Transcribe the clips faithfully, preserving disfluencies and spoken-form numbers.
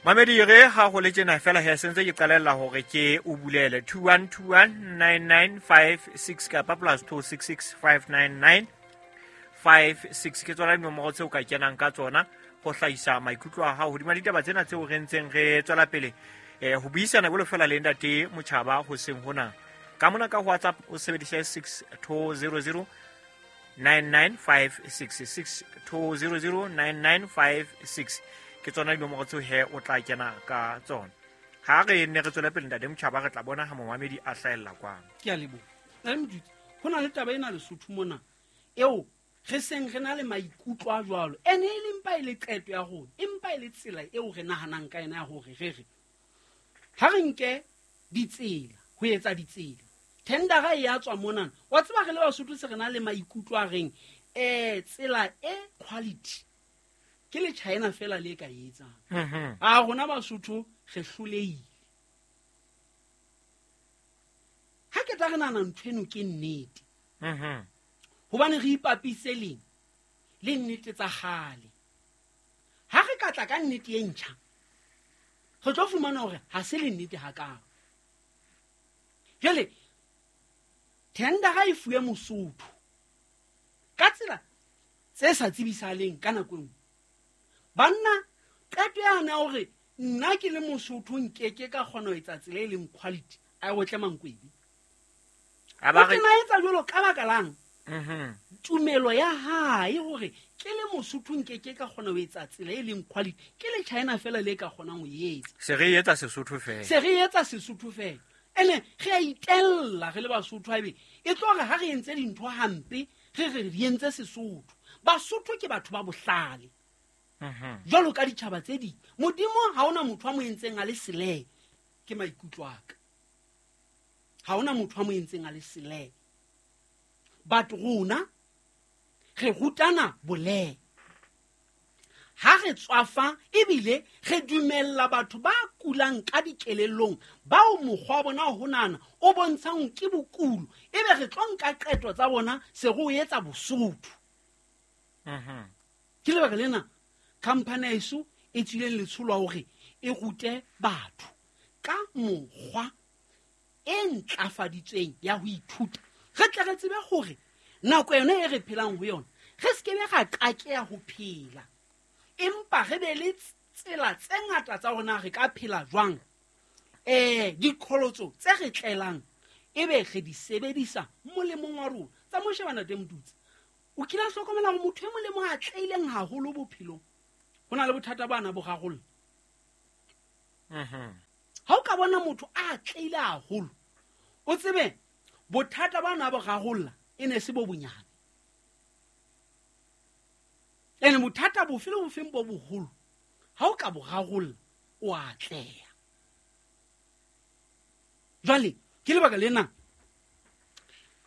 Mamedi re ha ho le tjena fela he sentse ke qalella hore ke o bulele two one two one nine nine five six kapa plus two six six five nine nine five six ke tsona dinomoro tseo ka kenang ka tsona ho hlahisa maikutlo a hao hodima ditaba tsena tseo re ntseng re tswela pele eh ho buisana bolo fela le ntate Motjhaba hoseng hona. Ka mona ka WhatsApp o sebedise six two zero zero nine nine five six, six two zero zero nine nine five six ke tsona dinomoro tseo he o tla kena ka tsona. Ha re ne re tswele pele ntate Motjhaba re tla bona ha momamedi a hlahella kwano. Ke a leboha. Ntate Motutsi, ho na le taba ena Lesotho mona eo re seng re na le maikutlo a jwalo. Ene e le mpa e le qeto ya rona, empa e le tsela eo re nahanang ka yona ya hore re re ha re nke ditsela ho etsa ditsela. Tendera e ya tswa mona. Wa tseba re le Basotho se re na le maikutlo a reng eh tsela e quality ke le China fela le ka etsang. Mhm. A rona Basotho re hlolehile. Ha ke tla re nahana ntho eno ke nnete. Mhm. Hobane re ipapise leng le nnete tsa kgale. Ha re ka tla ka nnete e ntjha, re tlo fumana hore ha se le nnete hakalo. Jwale tendera e fuwe Mosotho ka tsela tse sa tsebisahaleng ka nako e nngwe. Banna, qeto yana ya hore nna ke le Mosotho nkeke ka kgona ho etsa tsela e leng quality, a e otle Mankwedi. A ba O re tena etsa jwalo ka baka lang? Mhm. Tumelo ya hae hore ke le Mosotho nkeke ka kgona ho etsa tsela e leng quality, ke le China fela le ka kgonang ho e etsa. Se re etsa Sesotho fela. Se re etsa Sesotho fela. Ene re a itella re le Basotho haebe e tlo re ha re entse dintho hampe, re re re entse Sesotho. Basotho ke batho ba bohlale. Mhm. Jwalo ka ditjhaba tse ding. Modimo ha hona motho a mo entseng a le sele, ke maikutlo a ka. Ha hona motho a mo entseng a le sele. But rona re rutana boleng. Ha re tswafa ebile re dumella batho ba kulang ka dikelellong bao mokgwa wa bona ho nahana o bontshang ke bokulo, ebe re tlo nka qeto tsa bona se re o etsa Bosotho. Mhm. Ke lebaka lena khamphani ya heso e tswileng letsholo la hore e rute batho ka mokgwa e ntlafaditsweng ya ho ithuta. Re tle re tsebe hore nako yona e re phelang ho yona re se ke be ra qakeha ho phela, empa re be le tsela tse ngata tsa rona re ka phela jwang. Eh, diqholotso tse re tlelang ebe re di sebedisa molemong wa rona. Tsa mo shebana Ntate Motutsi, o kile a hlokomela hore motho e mong le mong a atlehileng haholo bophelong ho na le bothata ba na bo rarolla. Mhm. Ha o ka bona motho a atlehile haholo, o tsebe bothata ba na bo rarolla e ne se bo bonyane. Ene bothata bofe le bofeng bo boholo, ha o ka bo rarolla, o atleha. Jwale ke lebaka lena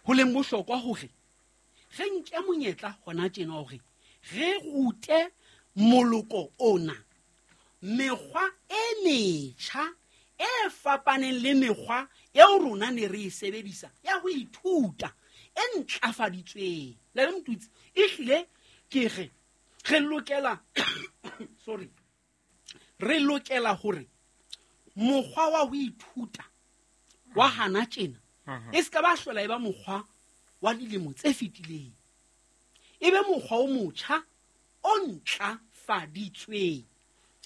ho leng bohlokwa hore re nke monyetla hona tjena hore re rute moloko ona mekgwa e metjha e fapaneng le mekgwa eo rona ne re e sebedisa ya ho ithuta e ntlafaditsweng. Le re Motutsi, ehlile ke re re lokela sorry, re lokela hore mokgwa wa ho ithuta wa hana tjena Mhm. e se ka ba hlola e ba mokgwa wa dilemo tse fetileng, e be mokgwa o motjha o ntlafaditsweng.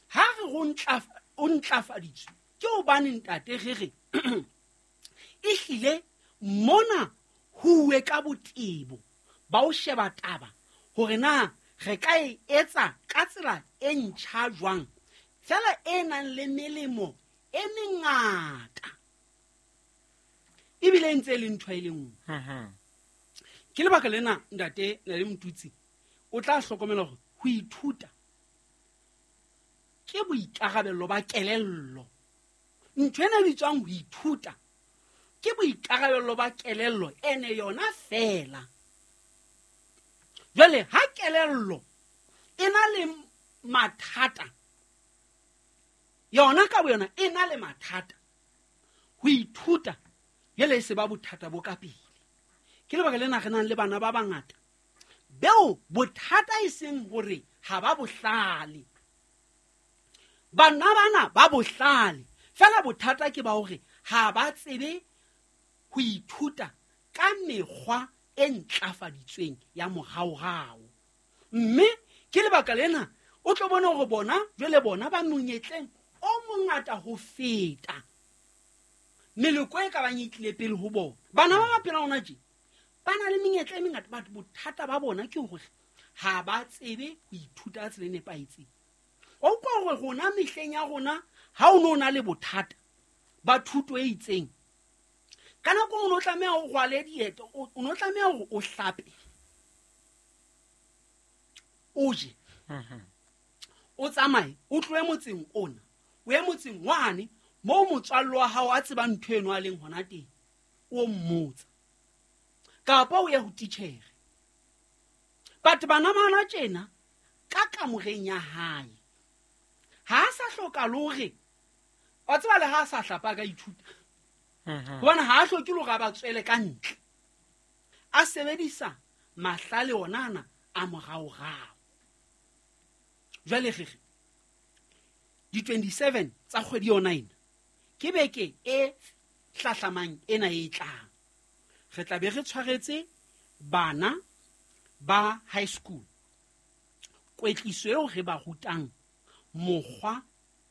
Ha re ho ntlafa-, o ntlafaditswe ke hobane ntate re re ehlile mona ho uwe ka botebo ba ho sheba taba hore na re ka e etsa ka tsela e ntjha jwang, fela e nang le melemo e mengata ebile e ntse e le ntho e le nngwe. Mhm. Ke lebaka lena ntate le Motutsi o tla hlokomela hore ho ithuta ke boikarabello ba kelello. Ntho ena e bitswang ho ithuta ke boikarabello ba kelello ene yona fela. Jwale ha kelello e na le mathata, yona ka boyona e na le mathata, ho ithuta jwale e se ba bothata bo ka pele. Ke lebaka lena re nang le bana ba bangata beo bothata e seng hore ha ba bohlale, Bana bana ba bohlale fela bothata ke ba hore ha ba tsebe ho ithuta ka mekgwa e ntlafaditsweng ya moraorao. Mme ke lebaka lena o tlo bona hore bona jwale bona ba monyetleng o mongata ho feta meloko e ka bang e tlile pele ho bona. Bana ba ba phelang hona tje ba na le menyetla e mengata, but bothata ba bona ke hore ha ba tsebe ho ithuta ka tsela e nepahetseng. O utlwa hore rona mehleng ya rona ha o no na le bothata ba thuto e itseng, ka nako o no tlameha o rwale dieto, o no tlameha hore o hlape, o je, o tsamaye, o tlohe motseng ona o ye motseng wane moo motswalle wa hao a tsebang ntho eno a leng hona teng, o mmotsa, kapa o ye ho titjhere. But bana bana tjena ka kamoreng ya hae ha a sa hloka le hore wa tseba le ha a sa hlapa ka ithuta, hobane ha a hloke le hore a ba tswele ka ntle, a sebedisa mahlale ona ana a moraorao. Jwale re re di twenty-seven tsa kgwedi yona ena ke beke e hlahlamang ena e tlang, re tla be re tshwaretse bana ba high school kwetliso eo re ba rutang mokgwa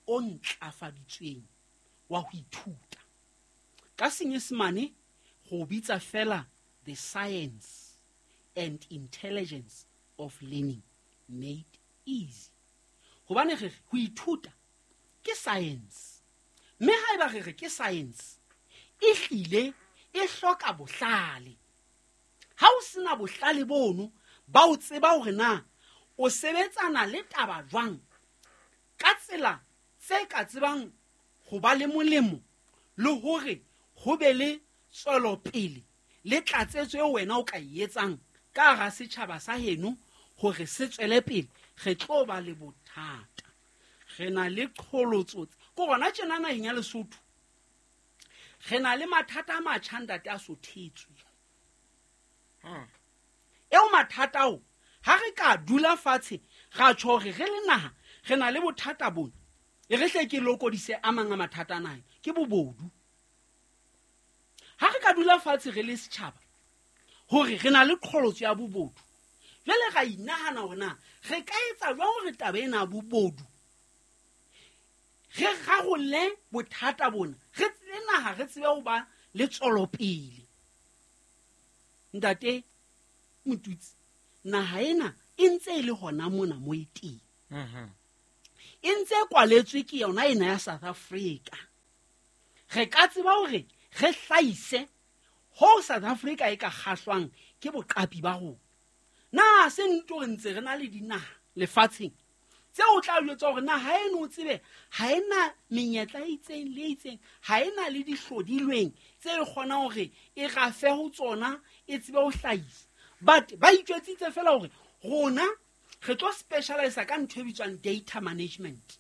o ntlafaditsweng wa ho ithuta. Ka Senyesemane go bitsa fela the science and intelligence of learning made easy. Hobane re re ho ithuta ke science, mme haeba re re ke science e hlile e hloka bohlale. Ha o sena bohlale bono ba o tseba hore na o sebetsana le taba jwang ka tsela tse ka tsebang ho ba le molemo le hore ho be le tswelopele le tlatsetso eo wena o ka e etsang ka hara setjhaba sa heno hore se tswele pele, re tlo ba le bothata. Re na le qholotso ko rona tjena naheng ya Lesotho, re na le mathata a matjha ntate a sothetswe. Eo mathata ao ha re ka dula fatshe ra tjho hore re le naha re na le bothata bona, e re hle ke lokodise a mang a mathata a naha ke bobodu. Ha re ka dula fatshe re le setjhaba hore re na le qholotso ya bobodu, jwale ra inahana hore na re ka etsa jwang hore taba ena ya bobodu re rarolle bothata bona, re tsebe naha, re tsebe ho ba le tswelopele. Ntate Motutsi, naha ena e ntse e le hona mona mo e teng, e ntse e kwaletswe ke yona ena ya South Africa. Re ka tseba hore re hlahise ho South Africa e ka kgahlwang ke boqapi ba rona. Na se nnete hore ntse re na le dinaha lefatsheng tse o tla jwetsa hore naha eno o tsebe ha ena menyetla e itseng le e itseng, ha ena le dihlodilweng tse e kgonang hore e rafe ho tsona e tsebe ho hlahisa. But ba itjwetsitse fela hore rona re tlo specialize ka ntho e bitswang data management.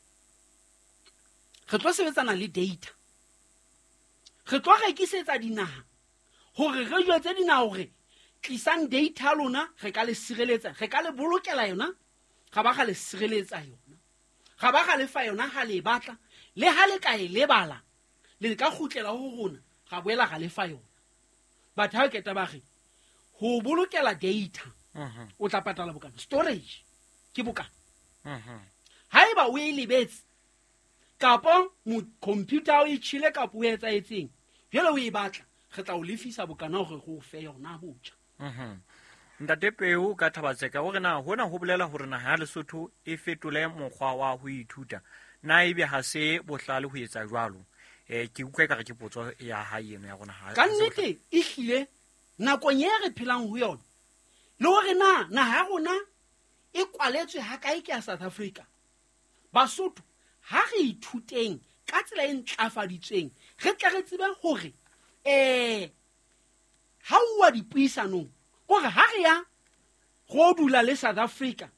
Re tlo sebetsana le data, re tlo rekisetsa dinaha hore re jwetse dinaha hore tlisang data lona, re ka le sireletsa, re ka le bolokela yona, ga ba ga le sireletsa yona, ga ba ga le fa yona ha le batla, le ha le ka e lebala le ka kgutlela ho rona, ga boela ga le fa yona. Batho ha keta ba re ho bolokela data o tla patala bokana, storage ke bokana. Haeba o e lebetse kapa computer o e tjhele kapa o etsaetseng, jwale o e batla, re tla o lefisa bokana hore re o fe yona botjha. Ntate Peo ka Thabatseka o re na hona ho bolela hore naha ya Lesotho e fetole mokgwa wa ho ithuta, na ebe ha se bohlale ho etsa jwalo? Eh ke utlwa ekare ke potso ya hae eno ya rona. Ka nnete e hlile nakong e re phelang ho yona le hore na naha ya rona e kwaletswe ha kae ke ya South Africa, Basotho ha re ithuteng ka tsela e ntlafaditsweng, re tle re tsebe hore eh ha uwa dipuisanong kore ha re ya go dula le South Africa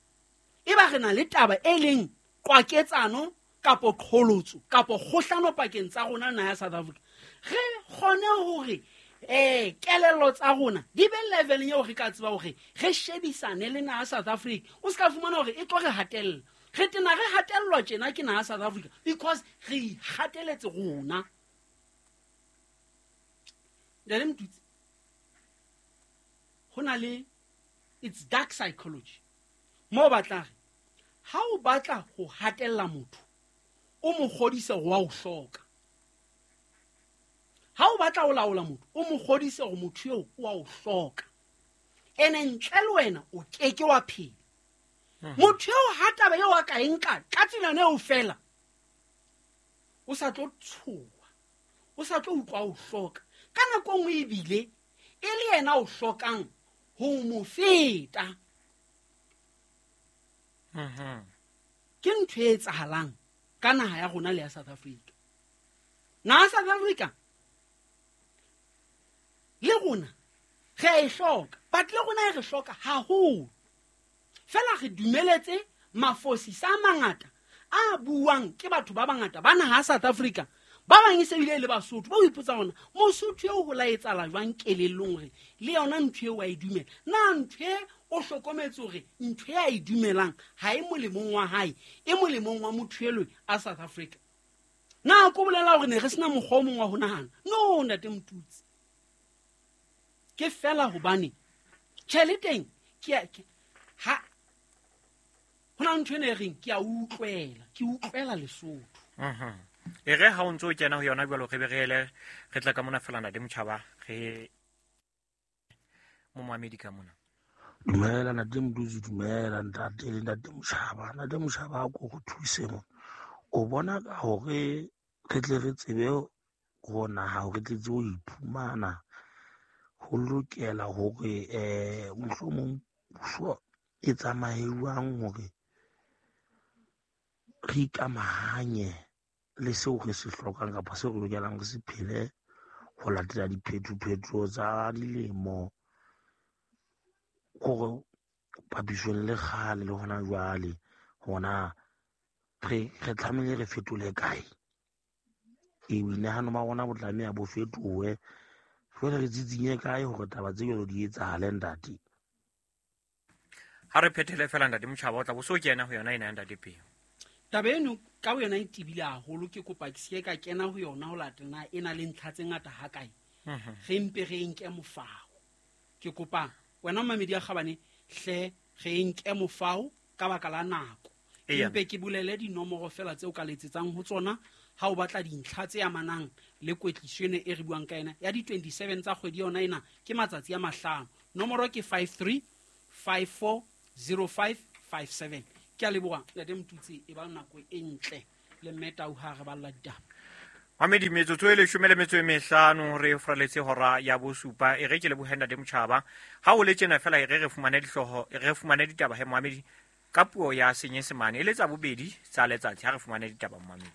e ba re na le taba e leng qwaketsano kapo qholotso kapo kgohlano pakeng tsa rona na ya South Africa, re kgone hore eh kelello tsa rona di be level eo re ka tseba hore re shebisane le naha South Africa. O ska fumana hore e tlo re hatella, Re tena re hatellwa tjena ke naha South Africa because re ikgateletse rona. Ntate Motutsi, ho na le it's dark psychology. Mo batla re ha o batla ho hatella motho, o mo kgodise hore wa o hloka. Ha o batla ho laola motho, o mo kgodise hore motho eo o wa o hloka. Ene ntle le wena o keke wa phela. Motho eo ha taba eo a ka e nka ka tsela eo fela, o sa tlo tshoha, o sa tlo utlwa o hloka. Ka nako e nngwe ebile e le yena o hlokang ho mo feta. Ke ntho e etsahalang ka naha ya rona le ya South Africa. Naha South Africa le rona re a e hloka, but le rona e re hloka haholo. Fela re dumeletse mafosisa a mangata a buang ke batho ba bangata ba naha South Africa. Ba bang e se bile le Basotho, ba o ipotsa hore Mosotho eo ho la etsahala jwang kelellong hore le yona ntho eo wa e dumela. Na ntho e o hlokometse hore ntho e a e dumelang ha e molemong wa hae, e molemong wa motho elwe a South Africa. Na ko bolela hore ne re sena mokgwa o mong wa ho nahana? No, ntate Motutsi. Ke fela hobane tjhe le teng ke a, ke, ha ho na ntho ena e reng ke a utlwela, ke utlwela Lesotho. Mhm. E re ha o ntso o kena ho yona jwalo re be re ele re tla ka mona fela ntate Motjhaba re mo moamedi ka mona. Dumela ntate Motutsi, dumela ntate le ntate Motjhaba. Ntate Motjhaba a ko go thuse mo. O bona ka hore re tle re tsebe ho naha hore re tle tsebe ho iphumana, ho lokela hore eh mohlomong puso e tsamaye jwang hore re ikamahanye le seo re se hlokang kapa seo re lokelang re se phele ho latela diphetopheto tsa dilemo, hore papisong le kgale le hona jwale hona re, re tlamehile re fetole kae. E boinahano ba rona bo tlameha bo fetohe. Jwale re tsitsinye kae hore taba tse jwalo di etsahale ntate? Ha re phethele fela ntate Motjhaba, o tla bo so kena ho yona ena ya ntate Peo. Taba eno ka ho yona e tebile haholo, ke kopa ke se ka kena ho yona ho latela e na le ntlha tse ngata ha kae. Re mpe re nke mofao. Ke kopa wena mamedi ya kgabane hle re nke mofao ka baka la nako. Eya. Mpe ke bolele dinomoro fela tseo ka letsetsang ho tsona ha o batla dintlha tse amanang le kwetliso ena e re buang ka yona ya di twenty-seven tsa kgwedi yona ena, ke matsatsi a mahlano. Nomoro ke five three five four zero five five seven. Ke a leboha ntate Motutsi, e ba nako e ntle le mme Tau ha re balla ditaba. Mamedi, metsotso e leshome le metso e mehlano re fraletse hora ya bosupa. E re ke lebohe ntate Motjhaba. Ha o le tjena fela e re re fumane dihlooho, e re fumane ditaba he moamedi ka puo ya Senyesemane e le tsa bobedi tsa letsatsi. Ha re fumane ditaba moamedi.